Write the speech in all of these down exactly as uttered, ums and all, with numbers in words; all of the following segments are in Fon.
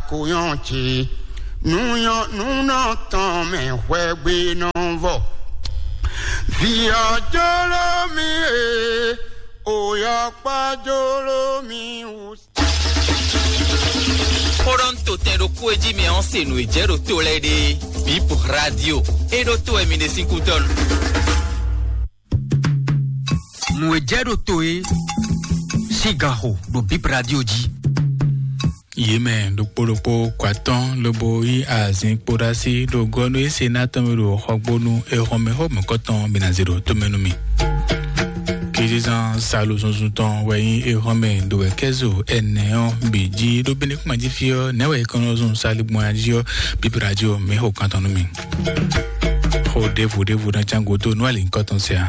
Kó yɔn ce, nú yɔn, nú nɔ tɔn mɛ hwɛgbe nɔ vɔ. Via jolo mi e, oyɔ kpa jolo mi wú. Xó ɖɔ un to tɛn ɖokpó e jí mi ɔ́ se nǔ e jɛ ɖo to lɛ́ɛ ɖe. Bip Radio. E ɖo to wɛ mi ɖe sín kútɔ́nu. Nǔ e jɛ ɖo to e sín ganxo ɖo Bip Radio jí. Yě mɛ ɖokpó ɖokpó kɔ atɔ́n lobo yí azin kpóɖásí ɖo gɔ́ nú é se ná tɔn mɛ ɖo xɔgbónú é hɔn mɛ xó mɔ̌kɔtɔn bǐ ná zé ɖo tomɛ nú mì. Kejizan salu zunzun tɔn wɛ nyí é hɔn mɛ ɖo wɛ kɛ́zo ɛnɛ ɔ́ bǐ jí ɖó bíní kúma jí fí ɔ́ nɛ̌ wɛ é kɔn nɔ zun saligbɔn jí ɔ́ bíbí radio mǐ xo kan tɔn nú mì. Xó ɖěvo ɖěvo ná cán gúdo nú alǐ nyǐkɔ tɔn sɛ a?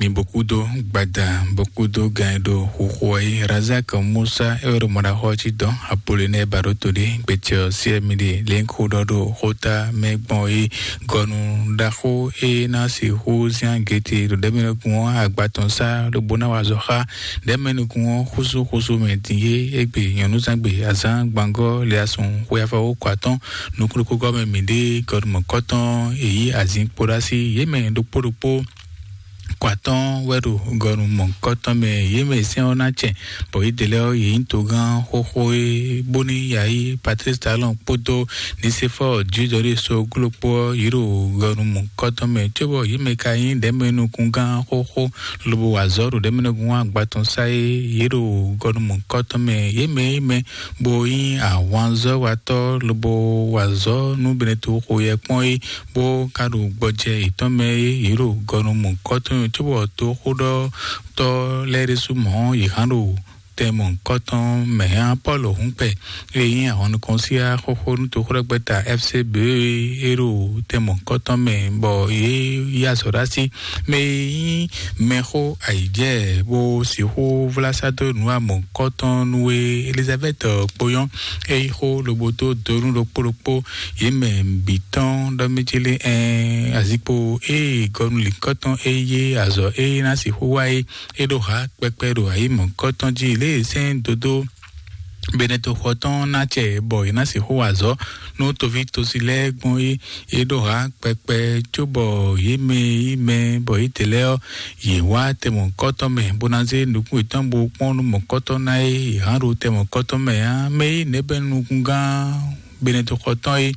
Mi bó kúdó gbada bó kúdó gan e ɖo xuxu ɔ́ yi. Razak Musa é wɛ ɖo mɔɖaxɔ ɔ́ cí dɔn Apolinɛ Baɖoto ɖé gbecɛ ɔ́ sí ɛmi ɖe lě xó ɖɔ ɖo xóta mɛ gbɔn é gɔnu ɖaxó é ná sixú zán gete ɖo ɖɛ̌mɛnukun ɔ́ agba tɔn sá lobo ná wa azɔ̌ xá ɖɛ̌mɛnukun ɔ́ xúsúxúsú mɛ din é égbé nyɔ̌núzangbe azán gbangɔ́ le asun xwe afɔwókɔ atɔ́n nukúnukúgɔ́ mɛ mǐ ɖe gɔnu mɔ̌kɔtɔn èyí azin kpóɖásí yě mɛ ɖokpó ɖokpó kɔ atɔ́n wɛ ɖo gɔnu mɔ̌kɔtɔn mɛ yě mɛ sɛ́n ɔ́ ná cɛ bɔ yě dě lɛ́ɛ ɔ́ yě nyí togán xóxó é bóní yayi Patrice Talon kpódó Nisefɔ Judɔri so glókpó ɔ́ yě ɖo gɔnu mɔ̌kɔtɔn mɛ cóbɔ yě mɛ ka nyí ɖɛ̌mɛnukungán xóxó lobo wa azɔ̌ ɖo ɖɛ̌mɛnukungán agbatɔn sá é yě ɖo gɔnu mɔ̌kɔtɔn mɛ yě mɛ é mɛ bó nyí ahwanzɔ́watɔ́ lobo wa azɔ̌ nú Benɛto xo yɛ kpɔ́n é bó ka ɖo gbɔjɛ yětɔn mɛ é yě ɖo gɔnu mɔ̌kɔtɔn cóbɔ toxóɖɔtɔ́ lɛ́ɛ ɖésú mɔ̌ yě hán ɖo tɛn mɔ̌kɔtɔn mɛ hɛn Pɔ́lu hǔnkpɛ e nyí ahɔnnukɔnsiya xóxó nú toxóɖɔgbɛ́ta F C B e ɖo tɛn mɔ̌kɔtɔn mɛ bɔ yě yí azɔ̌ ɖó así mɛ e nyí mɛxó ayǐjɛ bó sixú vlá sá dó nǔ amɔ̌kɔtɔn nú e Elizabɛ́ti kpó nyɔ́ é yí xó lobo dó donu ɖokpó ɖokpó yě mɛ bǐ tɔn ɖɔ mɛ célé ɛn azikpo ée gɔnu lǐnkɔtɔn é yé azɔ̌ é ná sixú wa é é ɖo hǎ kpɛkpɛ ɖo ayǐ mɔ̌kɔtɔn jí lě e sɛ́n dodó Benɛtoxɔ tɔn ná cɛ bɔ yě ná sixú wa azɔ̌ nú toví tosi lɛ́ɛ gbɔn é é ɖo hǎ kpɛkpɛ cóbɔ yě mɛ yí mɛ bɔ yě tɛ lɛ́ɛ ɔ́ yě wá tɛmɔ̌kɔtɔn mɛ bó ná zé nukún yětɔn bó kpɔ́n nú mɔ̌kɔtɔn ná é yě hán ɖo tɛmɔ̌kɔtɔn mɛ ǎ mɛ yí nɛ̌ bɛ́ nukúngán Benɛtoxɔ tɔn é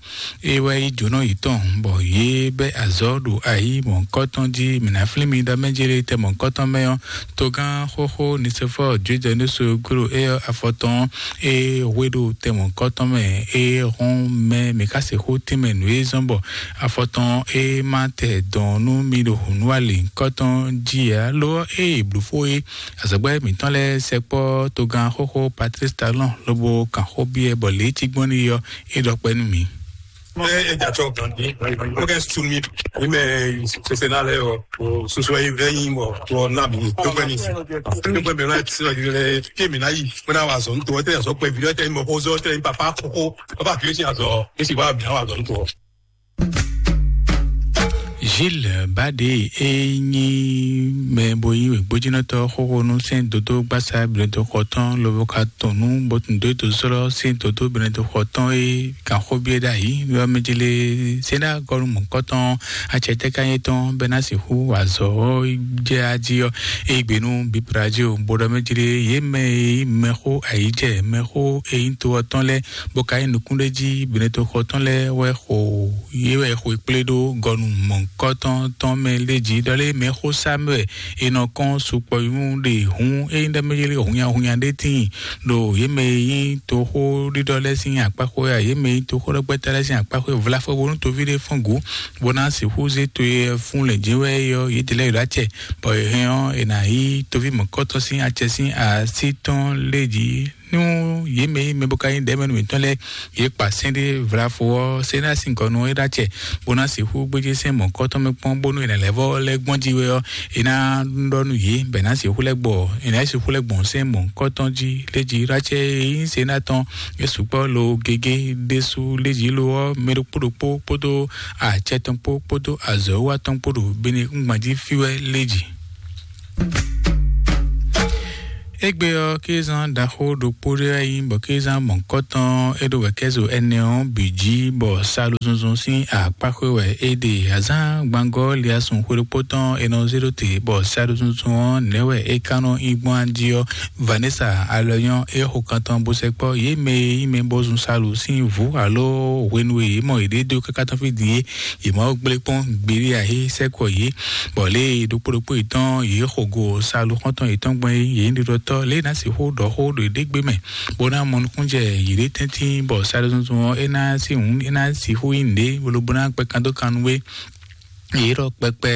é wɛ yí jǒnɔ yětɔn bɔ yě bɛ́ azɔ̌ ɖo ayǐ mɔ̌kɔtɔn jí mǐ ná flín mi ɖɔ mɛ jélé tɛ mɔ̌kɔtɔn mɛ ɔ́ togán xóxó Nisefɔ Judɛnuso gló é ɔ́ afɔtɔn é hwe ɖo tɛ mɔ̌kɔtɔn mɛ é hɔn mɛ mǐ ka sixú tínmɛ nǔ e zɔ́n bɔ afɔtɔn é má tɛ dɔn nú mi ɖo hǔnúwali kɔ́tɔn jí ǎ lo ɔ́ é blǔ fó é azɔ̌gbɛ́ mǐtɔn lɛ́ɛ sɛkpɔ́ togán xóxó Patrice Talon lobo kan xó byɔ́ bɔ lě cí gbɔn n'i ɔ́ é ɖɔ kpɛ́ nú mǐ. Ɛ ɛ dza tsɔ gandi. Mo kɛ sun mi. Mi mɛ sese na lɛ o. O soso yi vɛ yi mɔ. O na mi. To kpɛ ni. To kpɛ mi na ti na yi lɛ. Ke mi na yi. Mo na wa zɔn to. Tɛ zɔ kpɛ vi tɛ mɔ ko zɔ tɛ papa koko. Papa fi si azɔ. Esi wa mi na wa zɔn to. Gilles Bade e nyi mɛ bo yi wěgbójínɔtɔ xóxó nú sɛn dodó gbasa blɛdó xɔtɔn lobo ka tɔn nú botun dó do sɔlɔ sɛn dodó blɛdó xɔtɔn e kan xó biɛ ɖ'ayǐ yɔ mɛ jele sɛn ɖa gɔnu mɔkɔtɔn acɛtɛ ka nyɛ tɔn bɛ na sixú azɔ jɛ aji yɔ e gbe nú bibradio bo ɖɔ mɛ jele ye mɛ e mɛxó ayijɛ mɛxó e nyí to ɔtɔn lɛ bo ka nyí nukúnɖéjí blɛdó xɔtɔn lɛ wɛ xo ye wɛ xwe kplé ɖo gɔnu mɔ̌hunkɔtɔn tɔn mɛ lé jí ɖɔ lé mɛ xó sá mɛ wɛ è nɔ kɔn sukpɔyún ɖe hǔn ényí ɖɔ mɛ yé lé hunnyahunnya ɖé tíin ɖo yě mɛ e nyí toxóɖiɖɔ lɛ́ɛ sín akpáxwé a yě mɛ e nyí toxóɖɔgbɛ́ta lɛ́ɛ sín akpáxwé vlafɔ bónú toví ɖé fɔ́n gǔ bó ná sixú zé to e fún lɛ̌njɛ́n wɛ é ɔ́ yědɛɛ lɛ́ɛ yi ɖó acɛ bɔ è hɛn ɔ́ è nǎ yí toví mɔ̌kɔtɔn sín acɛ sín así tɔn lé jí. Nú yě mɛ e mɛ bó ka nyí ɖɛ̌mɛnu mǐtɔn lɛ́ɛ yě kpa sɛ́n ɖé vlafo ɔ́, sɛ́n ná sin gɔnu ɔ́ é ɖó acɛ, bó ná sixú gbéjé sɛ́n mɔ̌kɔtɔn mɛ kpɔ́n bónú è nǎ lɛ́ vɔ́ lɛ́ gbɔn jí wɛ ɔ́, è nǎ ɖɔ nú yě bɔ è nǎ sixú lɛ́ gbɔ, è nǎ sixú lɛ́ gbɔn sɛ́n mɔ̌kɔtɔn jí lé jí ɖó acɛ e nyí sɛ́n ná tɔn é sukpɔ́ lo gégé ɖésú lé jí lo ɔ́, mɛ ɖokpó ɖokpó kpódó acɛ tɔn kpó kpódó azɔ̌ wa tɔn kpó ɖo bene kúngban jí fí wɛ lé jí. Égbé ɔ́, kézán ɖaxó ɖokpó ɖé wɛ nyí, bɔ kézán mɔ̌kɔtɔn e ɖo wɛ̌kɛ́zo ɛnɛ ɔ́ bǐ jí, bɔ salozɔnzɔn sín akpáxwé wɛ é ɖe. Azán gbangɔ́ liasun xwe ɖokpó tɔn è nɔ zé ɖó te, bɔ salozɔnzɔn ɔ́ nɛ̌ wɛ é ka nɔ nyí gbɔn jí ɔ́, Vanessa Alɔnyɔ é xo kan tɔn bó sɛkpɔ́ yě mɛ e nyí mɛ bó zun salu sín vǔ alo hwenu e yě mɔ yěɖée dó káká tɔn fí din é, yě mɔ gblé kpɔ́n gbeɖé ǎ é sɛkɔ yě. Bɔ lě e ɖokpó ɖokpó yětɔn yě xo go salu xɔ́ntɔn yětɔn gbɔn é, yě nyí ɖiɖɔtɔ́ lě e ná sixú ɖɔ xó ɖo yěɖée gbe mɛ, bó ná mɔ nukúnjɛ yěɖée tɛ́ntin, bɔ saɖezɔnzɔn ɔ́ é ná sí hǔn é ná sixú nyí nǔɖé bolo bó ná kpɛ kan dó kan nú é. Yě ɖɔ kpɛkpɛ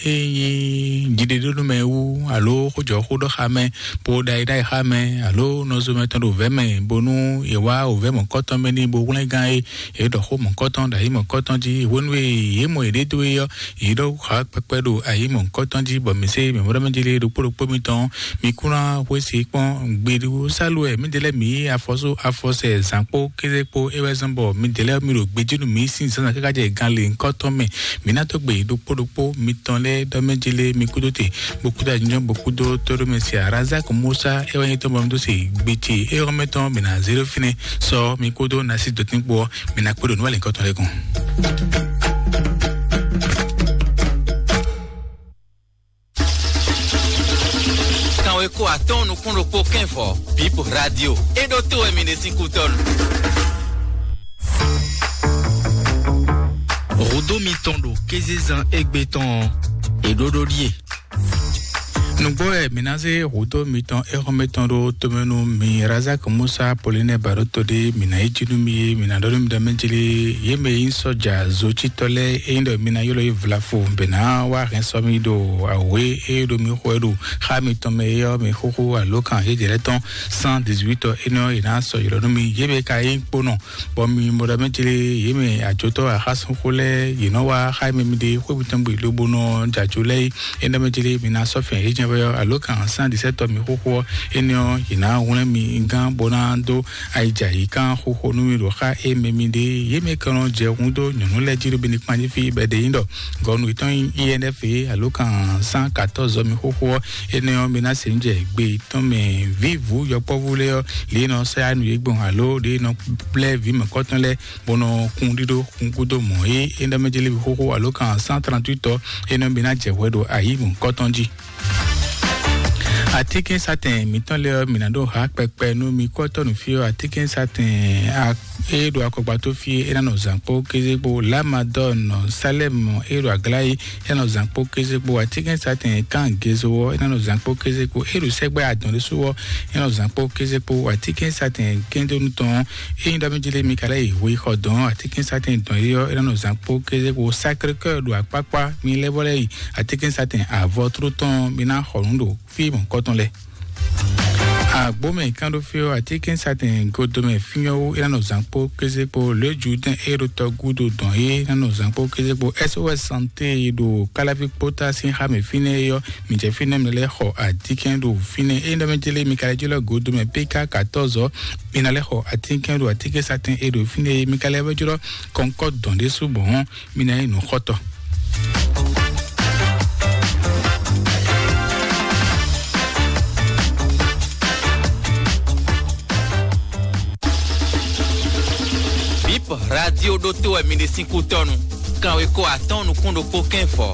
é nyí jiɖeɖónúmɛ wú, alo xójɔxó ɖɔ xá mɛ, bó ɖa yi ɖa yi xá mɛ, alo nɔzɔmɛ tɔn ɖo vɛ̌ mɛ, bónú è wá wǒvɛ́ mɔ̌kɔtɔn mɛ n'i bó hwlɛ́ngán é. Yě ɖɔ xó mɔ̌kɔtɔn ɖo ayǐ mɔ̌kɔtɔn jí. Hwenu e yě mɔ yěɖée dó é ɔ́, yě ɖɔ xá kpɛkpɛ ɖo ayǐ mɔ̌kɔtɔn jí, bɔ mǐ se mǐ mɔ ɖɔ mɛ jí lé ɖokpó ɖokpó mitɔn, mǐ kún ná xwé se kpɔ́n gbeɖusálu wɛ mǐdɛɛ lɛ́ɛ mǐ yí afɔsú afɔsɛ zǎn kpó kéze kpó é wɛ zɔ́n bɔ mǐdɛɛ lɛ́ɛ mǐ ɖo gbejí nú mǐ sín zǎnzǎn káká jɛ gan lěhunkɔtɔn mɛ. Mǐ ná dó gbe ɖokpó ɖokpó mitɔn lɛ́ɛ ɖɔ mɛ jí lé mi kúdó te, bó kúdó anyɔ, bó kúdó tóɖó mɛ si Razak Musa é wɛ nyí tɔn bɔ mi dó se gbe ce é xɔ́mɛ tɔn mǐ ná zé ɖó fínɛ́. Sɔ mi kúdó nasi dɔtín kpó ɔ́, mǐ ná kpé ɖo nǔ wɛ lěhunkɔtɔn lɛ́ɛ kɔn. Kanweko atɔ́ɔ́n nukún ɖokpó kɛ́nvɔ, Bip Radio. É ɖó tó wɛ mi ɖe sín kútɔ́nu. Hǔdó mitɔn ɖo kézezán égbé tɔn ɔ́, è ɖó ɖó ɖíe. Nǔgbó wɛ mǐ ná zé hǔdó mitɔn éxɔ́mɛ tɔn ɖó tomɛ nú mi. Razak Musa Polinɛ Baɖóto ɖé, mǐ ná yi jí nú mi é, mǐ ná ɖɔ nú mi ɖɔ mɛ jí lé, yě mɛ e nyí sɔ́ja zocítɔ́ lɛ́ɛ, é nyí ɖɔ mi ná ylɔ́ yě vlafo bě ná wá hɛn sɔ́ mì ɖo awě e ɖo mi xo wɛ ɖo xá mitɔn mɛ é ɔ́, mi xúxú alǒkan yějɛ lɛ́ɛ tɔn cent dix-huit ɔ́, énɛ́ ɔ́, yě ná sɔ́ ylɔ́ nú mi. Yě mɛ ka nyí kponɔ, bɔ mi mɔ ɖɔ mɛ jí lé, yě mɛ ajotɔ́ axásúnxó lɛ́ɛ, yě nɔ wá xá mɛ mi ɖe xwé mitɔn gbe lobo nɔ jɛ ajo lɛ́ɛ é. Énɛ́ mɛ jí lé, mi ná sɔ́ fɛn yě jɛ́n vɛ ɔ́, alǒkan cent dix-sept ɔ́ mi xúxú ɔ́, énɛ́ ɔ́, yě ná hwlɛ́n mi gán bó ná dó ayijǎ yí kán xóxó nú mì ɖo xá e mɛ mi ɖe. Yě mɛ kɛnlɔ́n jɛ hun dó nyɔ̌nu lɛ́ɛ jí ɖo Benikpan jí fí bɔ è ɖe nyí ɖɔ gɔnu yětɔn nyí I N F é, alǒkan cent quatorze ɔ́ mi xóxó ɔ́, énɛ́ ɔ́, mi ná se nǔ jɛ gbe yětɔn mɛ vǐvǔ yɔkpɔ́vú lɛ́ɛ ɔ́, lě e nɔ sɛ́ nǔ yě gbɔn alo lě e nɔ blɛ́ vǐ mɔ̌kɔtɔn lɛ́ɛ bó nɔ kún ɖíɖó kún gúdo mɔ̌ é. Énɛ́ mɛ jí lé mi xóxó alǒkan cent trente-huit ɔ́, énɛ́ ɔ́, mi ná jɛ hwɛ ɖo ayǐ mɔ̌kɔtɔn jí. Atínkɛnsatɛn mǐtɔn lɛ́ɛ ɔ́, mǐ ná ɖó ha kpɛkpɛ nú mi kɔ́tɔ́ nǔ fí ɔ́. Atínkɛnsatɛn a- e ɖo akɔgbato fí é ná nɔ zǎn kpó kéze kpó. Lamadɔn Salɛm e ɖo aglá yi é ná nɔ zǎn kpó kéze kpó. Atínkɛnsatɛn kan gezo ɔ́ é ná nɔ zǎn kpó kéze kpó. E ɖo sɛgbɛ adɔn ɖésú ɔ́ é ná nɔ zǎn kpó kéze kpó. Atínkɛnsatɛn kɛndonu tɔn é nyí ɖɔ mí jí lé mi ka lɛ́ yi hwe xɔ dɔn. Atínkɛnsatɛn dɔn yi ɔ́ é ná nɔ zǎn kpó kéze kpó. Sacré-Cœur ɖo akpákpá mi lɛ́ vɔ lɛ́ yi. Atínkɛnsatɛn avɔ tló tɔn mi ná xɔ nǔ ɖo fí mɔ̌kɔtɔn lɛ́ɛ. Agbómɛ kánɖófíó atínkɛnsatɛn godomɛ fínyɔ́wó é ná nɔ zǎn kpó kéze kpó. Le Judɛn é ɖo tɔ gúdo dɔn é ná nɔ zǎn kpó kéze kpó. S O S Santé e ɖo Káláví kpótá sín xá mɛ fínɛ́ é ɔ́, mi jɛ fínɛ́ mi lɛ́ xɔ atínkɛn ɖo fínɛ́. É ɖɔ mɛ jélé mi ka lɛ́ jlɔ́ godomɛ P K quatorze ɔ́, mi ná lɛ́ xɔ atínkɛn ɖo atínkɛnsatɛn e ɖo fínɛ́ é. Mi ka lɛ́ wɛ jlɔ́ kɔnkɔ́ dɔn ɖésú bɔn mi ná nyí nǔxɔtɔ́. Bip Radio ɖótó wɛ mi ɖe sín kútɔ́nu. Kanweko atɔ́ɔ́n nukún ɖokpó kɛ́nfɔ.